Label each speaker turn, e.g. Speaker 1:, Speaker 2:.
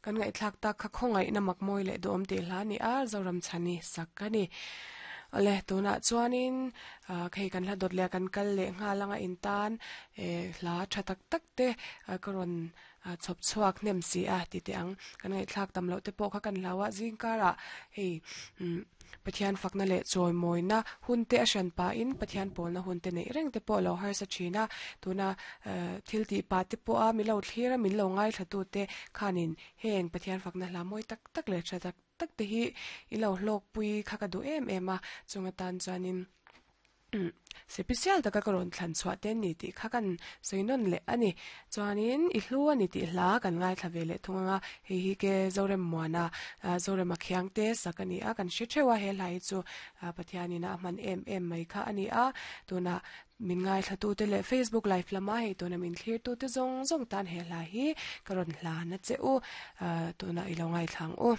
Speaker 1: Kan ngaihthlak tak kha khawngaihna mak mawi leh duhawm tih hla a ni a, Zoram chhani sak a ni. Awle, tunah chuanin khei kan hla dawt leh kan kal leh nghal anga intan eh hla tha tak tak te ka rawn chhawp chhuak hnem si a ti teh ang. Kan ngaihthlak tam loh te pawh kha kan hlau a, zingkarah hei umm Pathian fakna leh chawimawina hun te a hran pahin Pathian pawlna hun te neih reng te pawh a lo harsa thin a, tuna thil tih pah te pawha min lo thlir a, min lo ngaithla tu te khanin heng Pathian fakna hla mawi tak tak leh tha tak tak te hi i lo hlawkpui kha ka duh em em a, chung atan chuanin. Sipisial taka ka rawn thlan chhuah te ni tih kha kan sawi nawn leh a ni. Chuanin i hlu a ni tih hla kan ngaithla ve leh thung ang a, hei hi ke Zorem Muana, Zorema Khiangte sak a ni a, kan hre theuh a, he hla hi chu Pathianin a hman em em mai kha a ni a. Tunah min ngaithlatute leh Facebook live lama hei tuna min thlirtute zawng zawng tan he hla hi ka rawn hlan a che u, tunah i lo ngaithla ang u.